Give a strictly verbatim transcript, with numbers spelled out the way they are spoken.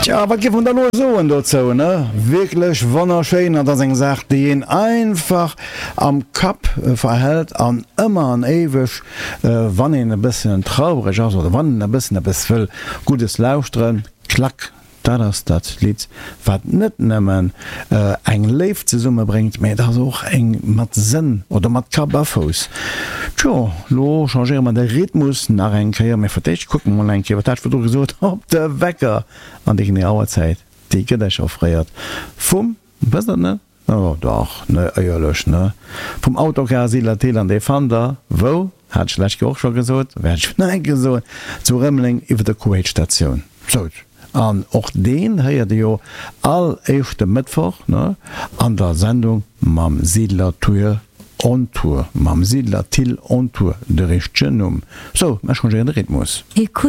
Tja, wat géif een da lo soen dozou, ne? Wierklech wonnerschéin, an dat ass eng Saach, déi een einfach am Kapp verhält an ëmmer an éiweg, wann een e bëssen traureg ass oder wann een e bëssen eppes wëll Guddes lauschteren, klack, dat ass dat Lidd, wat net nëmmen eng Léift zesummebréngt, mä et ass och eng mat Sënn oder mat Kapp a Fouss. Tjo, lo changéiere mer de Rhythmus nach eng Kéier, mä fir d'éischt kucke mer mol eng Kéier, wat hat ech virdru gesot, op de Wecker an déi genee Auerzäit, déi gëtt Iech offréiert vum, wësst Der et net? Oh dach, ne, éierlech, ne? Vum Autocar Siedler Thill an dee fannt Der wou? Hat ech d'lescht Kéier och scho gesot, wäert ech nach eng Kéier soen, zu Rëmeleng iwwer der Kuwait-Statioun. Sou, an och deen héiert Der jo all éischte Mëttwoch, ne, an der Sendung mam Siedler Tour on Tour, mam Siedler Thill on Tour, de richtegen Numm. Sou, mer changéieren de Rhythmus.